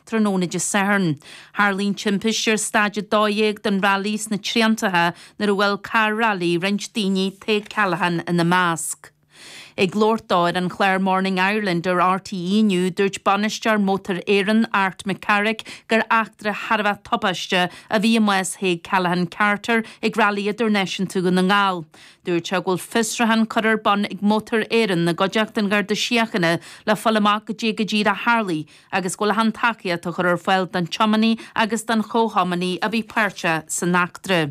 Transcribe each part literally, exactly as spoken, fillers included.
tráthnóna Dé Sathairn. Tharla an timpiste ar staid a dó dhéag den railí sna Triantacha nuair a bhuail carr railí roinnt daoine Tadhg Callaghan ina measc. Ag labhairt dó ar an chlár Morning Ireland ar RTÉ inniu dúirt bainisteoir Motor Éireann Art McCarrick gur eachtra thar a bheith tubaisteach a bhí i mbás Thaidhg Callaghan Carter ag Railí Idirnáisiúnta Dhún na nGall. Dúirt sé go bhfuil fiosrúchán curtha ar bun ag Motor Éireann i gcuideachta an Gharda Síochána le fáil amach goidé go díreach a tharla agus go bhfuil achan tacaíocht á chur ar fáil don tiománaí agus don chomhthiománaí a bhí páirteach san eachtra.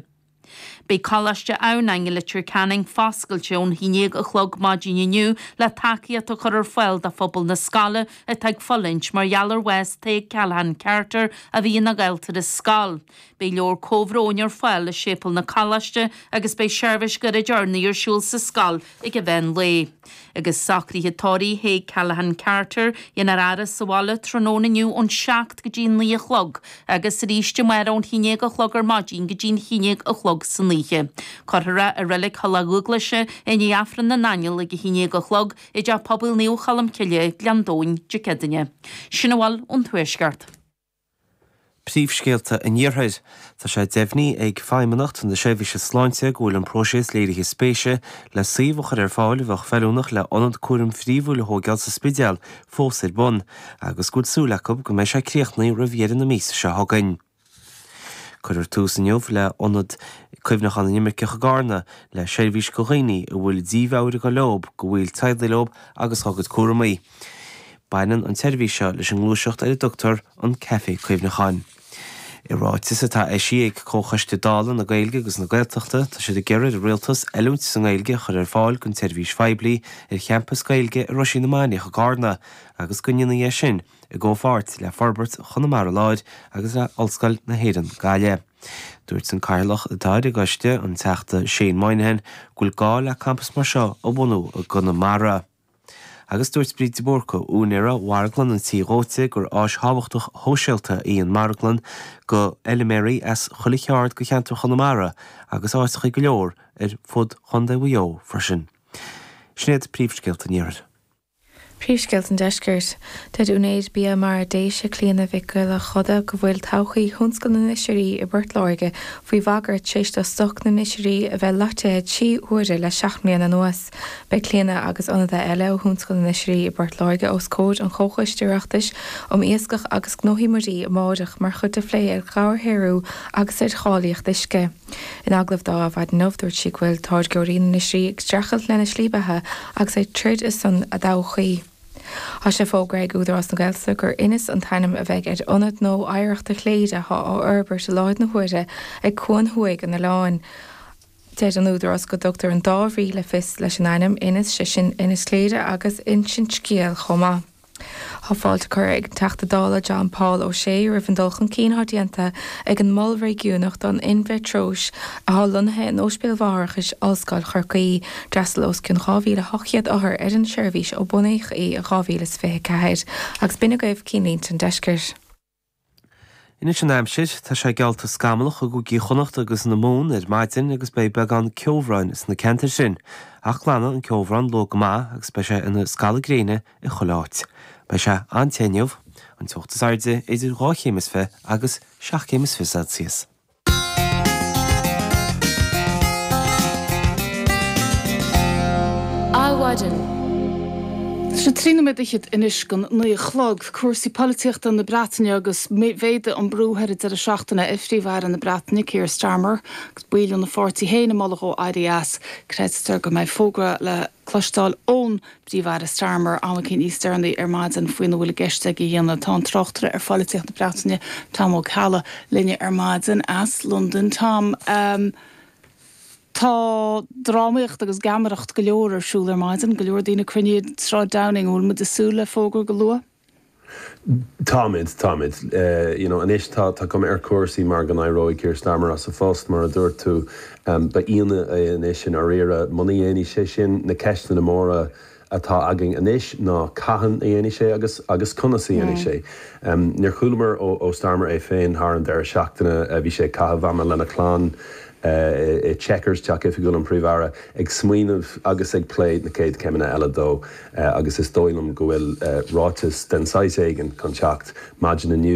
Beidh Coláiste Adhamhnáin i Leitir Ceanainn foscailte ón haon déag a chlog maidin inniu le tacaíocht a chur ar fáil do phobal na scoile atá ag fulaingt mar gheall ar bhás Tadhg Callaghan Carter a bhí ina dhalta ar scoil. Beidh leabhar comhbhróin ar fáil i séipéal na coláiste agus beidh seirbhís ghairid urnaí ar siúl sa scoil ag an mheán lae. Agus socruithe tórraimh Thaidhg Callaghan Carter déanfar a fhaire sa bhaile tráthnóna inniu ón seacht go dtí naoi a chlog agus arís amárach ón haon déag a chlog ar maidin go dtí an haon déag a chlog san oíche. Cuirfear é i reilig Thulach Dúglaise i ndiaidh Aifreann na nAingeal ag a haon déag a chlog i dTeach Pobail Naomh Cholm Cille, Gleann Domhain, Dé Céadaoine. Sin a bhfuil ón Tuaisceart. Príomhscéalta an Iarthair. Tá sé deimhnithe ag Feidhmeannacht na Seirbhíse Sláinte go bhfuil an próiseas léirithe spéise le suíomh a chur ar fáil a bheadh feiliúnach le ionad cúraim phríomhúil a thógáil sa Spidéal fós ar bun agus go bhfuil súil acu go mbeidh sé críochnaithe roimh dheireadh na míosa seo chugainn. Cuirfear tús inniu le ionad cuimhneacháin na n-imirceach i gCarna le seirbhís do dhaoine a bhfuil dímheabhair ag dul leo, go bhfuil teaghlaigh leo agus dá gcuid cúramaí. Baineann an tseirbhís seo leis an ngluaiseacht ar a dtugtar an Caife Cuimhneacháin. I ráiteas atá eisithe ag Comhchoiste Dála na Gaeilge agus na Gaeltachta, tá siad ag iarraidh ar an Rialtas oiliúint sa nGaeilge a chur ar fáil don tseirbhís phoiblí ar champas Gaeilge i Roisín na Mainiach i gCarna agus go ndéanfaí é sin i gcomhpháirt le Forbairt Chonamara Láir agus le Ollscoil na hÉireann, Gaillimh. Dúirt an Cathaoirleach atá ar an gcoiste, an Teachta Shane Moynihan, go bhfuil gá le campas mar seo a bhunú i gConamara. Agus dúirt Bríd de Búrca, úinéara Mharglann an Tí Dhóite, gur áis thábhachtach shóisialta í an mharglann do fheilméaraí as chuile cheard de cheantar Chonamara agus áiteacha go leor ar fud Chontae Mhaigh Eo freisin. Sin iad príomhscéalta an Iarthair. Príomhscéalta an Deiscirt. Deir úinéir Bia Mara Déise Clíona Mhic Giolla Choda go bhfuil todhchaí thionscal na n-oisrí i bPort Láirge faoi bhagairt tar éis do stoc na n-oisrí a bheith laghdaithe trí huaire le seacht mbliana anuas. Beidh Clíona agus ionadaithe eile ó thionscal na n-oisrí i bPort Láirge os comhair an Chomhchoiste Oireachtais um Iascach agus Gnóthaí Muirí amárach mar chuid de phlé ar dhobharshaothrú agus ar cháilíocht uisce. In agallamh dó ar maidin inniu dúirt sí go bhfuil táirgeoirí na n-oisrí ag streachailt lena slí beatha agus ag troid ar son a dtodhchaí. Tá sé fógartha ag Údarás na Gaeltachta gur Inis an t-ainm a bheidh ar ionad nua oidhreachta Chléire atá á fhorbairt i láthair na huaire ag cuan thuaidh an oileáin. Deir an Údarás go dtugtar an dá bhrí le fios leis an ainm Inis sé sin Inis Chléire agus insint scéil chomh maith. Tá fáilte curtha ag an Teachta Dála John Paul O'Shea roimh an dul chun cinn atá déanta ag an Mol Réigiúnach don In-Mheitreois atá lonnaithe in Ospidéal Mháithreachais Ollscoil Chorcaí. D'fhreastail os cionn dhá mhíle ocht gcéad othar ar an seirbhís ó bunaíodh í in dhá mhíle is fiche ceathair agus b'in agaibh cinnlínte an deiscirt. Anois an aimsir, tá sé geallta scamallach i gCúigí Chonnacht agus na Mumhan ar maidin agus beidh beagán ceobhráin sna ceantair sin. Ach glanfaidh an ceobhrán luath go maith agus beidh sé ina scalladh gréine i chuile áit. Beidh sé an-te inniu, an teocht is airde idir dhá chéim is fiche agus seacht gcéim is fiche Celsius. Adhmhaidin. Tá sé trí nóiméad fhichead anois don naoi a chlog. Cúrsaí polaitíochta na Breataine agus mhéadaigh an brú thar an deireadh seachtaine ar Phríomh-Aire na Breataine, Keir Starmer, agus baill óna pháirtí féin ag moladh dó éirí as. Creidtear go mbeidh fógra le cloisteáil ón bPríomh-Aire Starmer am eicínt níos deireanaí ar maidin faoina bhfuil i gceist aige a dhéanamh. Tá an tráchtaire ar pholaitíocht na Breataine, Tom Ó Ceallaigh, linne ar maidin as Londain. Tom, Tá drámaíocht agus geamaireacht go leor ar siúl ar maidin, go leor daoine cruinnithe i Sráid Downing. An bhfuil muid ag súil le fógra go luath? Táimid, táimid. You know, anois tá tá cuma ar chúrsaí mar go n-éireoidh Keir Starmer as a phost, mar a dúirt tú. Ba ionadh é anois i ndáiríre muna ndéanfaidh sé sin. Na ceisteanna móra atá againn anois ná cathain a dhéanfaidh sé agus agus conas a dhéanfaidh sé. Níor chualamar ó Starmer é féin thar an deireadh seachtaine. Bhí sé ag caitheamh ama lena chlann i Chequers, teach oifigiúil an Phríomh-Aire, ag smaoineamh agus ag plé na chéad chéimeanna eile dó agus is dóigh liom go bhfuil ráiteas den saghas éigin chun teacht maidin inniu.